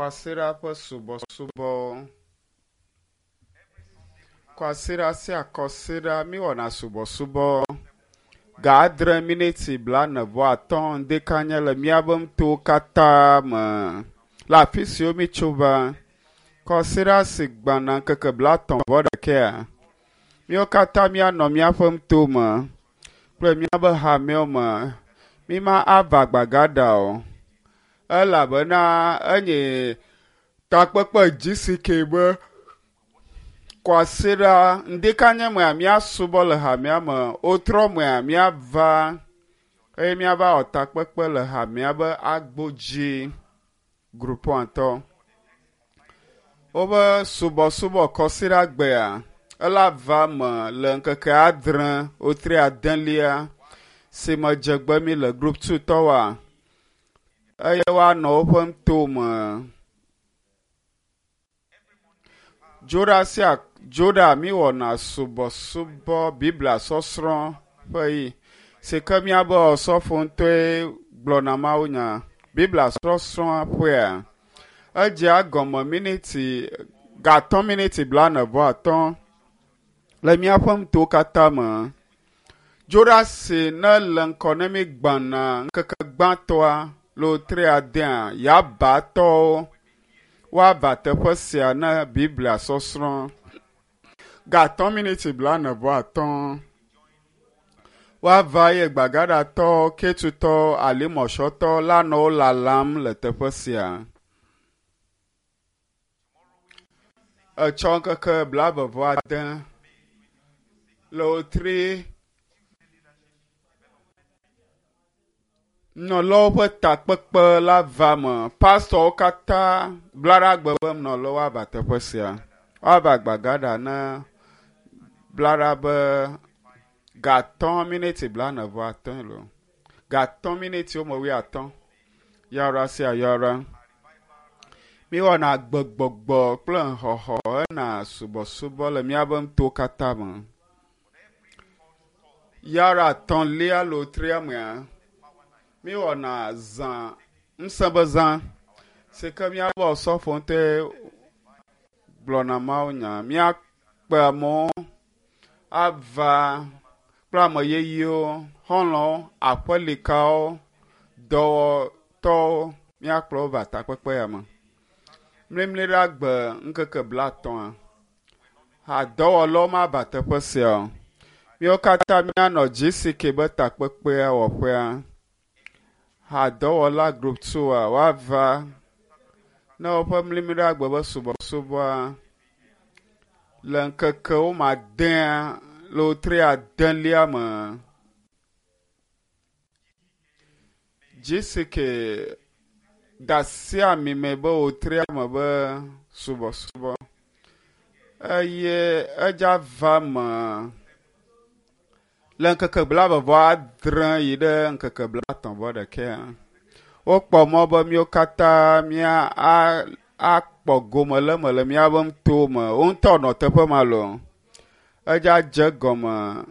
Kwasiɖa ƒe subɔsubɔwo. Kwasiɖa sia kɔsiɖa míwɔna subɔsubɔ ga adre miniti blaene vɔ atɔ̃ ŋdekanye le míabe ŋutowo katã me le afi siwo mítso va. Kɔsiɖa si gbɔna ŋkeke blatɔ̃ vɔ ɖekɛa, míawo katã míanɔ míaƒe ŋutome kple míabe hamewo me. Míma ava gbagaɖa o elabena enye takpekpe GCK be kwasiɖa ŋdekanye mea míasubɔ le hamea me, wotrɔ mea míava eye míava wɔ takpekpe le hamea be agbo dzi grupɔ̃tɔ. Wobe subɔsubɔ kɔsiɖa gbea ela va me le ŋkeke adre wotri adelia si me dzegbe mi le group 2 tɔwoa eye woanɔ woƒe ŋutome. Dzoɖa sia dzoɖa míwɔna subɔsubɔ Biblia sɔsrɔ̃ ƒe yi si ke míabe osɔfo ŋutɔe gblɔna mawunya. Biblia sɔsrɔ̃ ƒea edzea gɔme miniti gatɔ̃ miniti blaene vɔ atɔ̃ le míaƒe ŋutowo katã me. Dzoɖa si ne le ŋkɔ ne mi gbãna ŋkeke gbãtɔa le wotri adea yabatɔwo woava teƒe sia ne Biblia sɔsrɔ̃. Gatɔ̃ miniti blaene vɔ atɔ̃. Woava ye gbagaɖatɔwo, ketutɔwo, alimɔsɔtɔwo la nɔ wo lalam le teƒe sia. Etsɔ ŋkeke blaeve vɔ ade le wotri nɔlawo ƒe takpekpe la va me. Pastɔwo katã bla ɖe agbe be nɔlawo ava teƒe sia. Woava gbagaɖa ne bla ɖa be gatɔ̃ miniti blaene vɔ atɔ̃ loo. Gatɔ̃ miniti wome wuiatɔ̃. Yɔra sia yɔra. Míwɔna gbegbɔgbɔ kple xɔxɔ hena subɔsubɔ le míabe ŋutowo katã me. Yɔra etɔ̃lia loo tria mea, míwɔna zã ŋusẽ be zã si ke míabe osɔfo ŋutɔe gblɔna mawunya. Míakpe amewo ava kple ame yeyewo, xɔlɔ̃wo, aƒelikawo, dɔwɔtɔwo míakplɔ wo va takpekpe ya me. Mlimli ɖe agbe ŋkeke blatɔ̃a, hadɔwɔlawo mava teƒe sia o. Míawo katã míanɔ GCK be takpekpea wɔƒea. Hadɔwɔla group 2a woava ne woƒe mlimli ɖe agbe be subɔsubɔa le ŋkeke wome adea le wotri adelia me. GCK da asi ami me be wotria me be subɔsubɔ eye edza va me le ŋkeke blaeve vɔ adre yi ɖe ŋkeke blatɔ̃ vɔ ɖekɛa. Wokpɔ mɔ be míawo katã mía a akpɔ gome le eme le míabe ŋutowo me. Wo ŋutɔ nɔ teƒe ma loo. Edza dze gɔme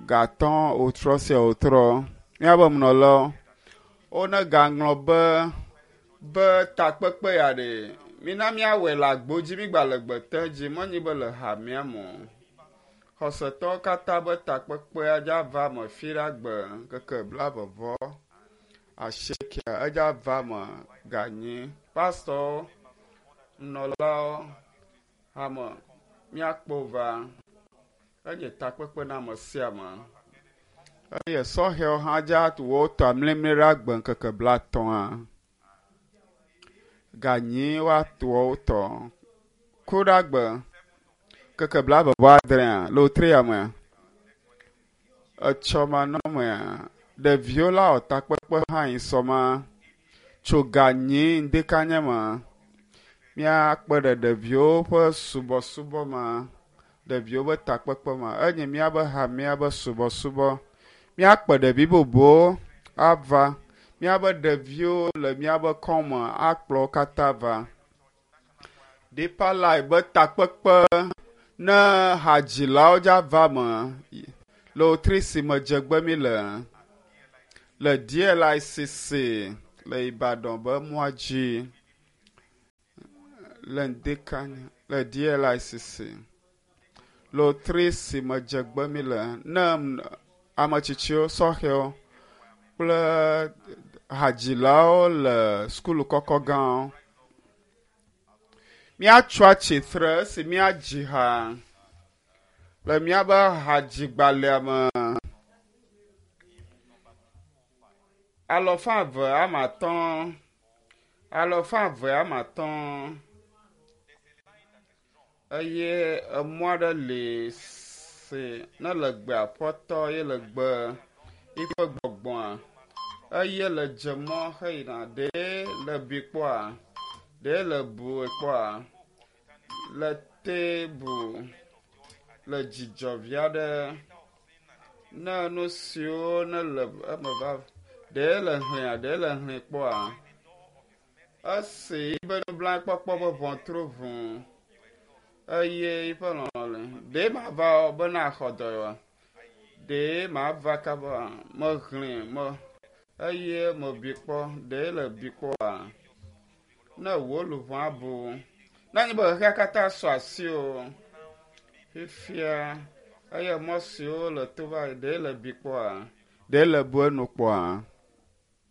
gatɔ̃ wotrɔ sia wotrɔ. Míabe munɔlawo wone gaŋlɔ be be takpekpe ya ɖe mina míawɔe le agbo dzi mígba le gbete dzi menyi be le hamea me o. Xɔsetɔwo katã be takpekpea dza va me fi ɖe agbe ŋkeke blaeve vɔ asiekɛa edza va me ganyi. Pastɔwo, nunɔlawo, hame míakpɔ va. Enye takpekpe na ame sia ame. Eye sɔhɛwo hã dza wotɔ amlimli ɖe agbe ŋkeke blatɔ̃a. Ganyi woato wotɔ. Ku ɖe agbe ŋkeke blaeve vɔ adrea le wotri ya mea. Etsɔ manɔmea, ɖeviwo la wɔ takpekpe hã yi sɔma tso ganyi ŋdekanye me. Míakpe ɖe ɖeviwo ƒe subɔsubɔ me, ɖeviwo ƒe takpekpe me. Enye míabe hamea be subɔsubɔ. Míakpe ɖevi bubuwo ava. Míabe ɖeviwo le míabe kɔme akplɔ wo katã va. Deeper Life be takpekpe ne hadzilawo dza va me le wotri si me dzegbe mi le le DLICC le Ibadan be mɔa dzi. Le ŋdekanya le DLICC. Lotri si me dzegbe mi le ne ame tsitsiwo, sɔhɛwo kple hadzilawo le sukulu kɔkɔ gãwo. Míatso atsitre esi míadzi ha le míaƒe hadzigbalẽa me. Alɔfa eve ame atɔ̃, alɔfa eve ame atɔ̃ eye emɔ aɖe li si ne le gbe aƒetɔ ye le gbe yiƒe gbɔgbɔa eye le dze mɔ heyina ɖe le bi kpɔa, ɖe le bu kpɔa, le tebu le dzidzɔ vi aɖe ne nu siwo ne le eme va ɖe le hlẽa ɖe le hlẽ kpɔa. Esi yiƒe nublanuikpɔkpɔ ƒe ʋɔtru ʋu eye yiƒe lɔlɔ̃ le. Ɖe mava be naxɔ dɔyɔa? Ɖe mava kaba mehlẽ me eye mebi kpɔ ɖe le bi kpɔa? Ne wò luʋɔ abu. Ne nye be xexea katã sɔ asi o. Fifia eye mɔ siwo le to va yi ɖe le bi kpɔa? Ɖe le bu enu kpɔa?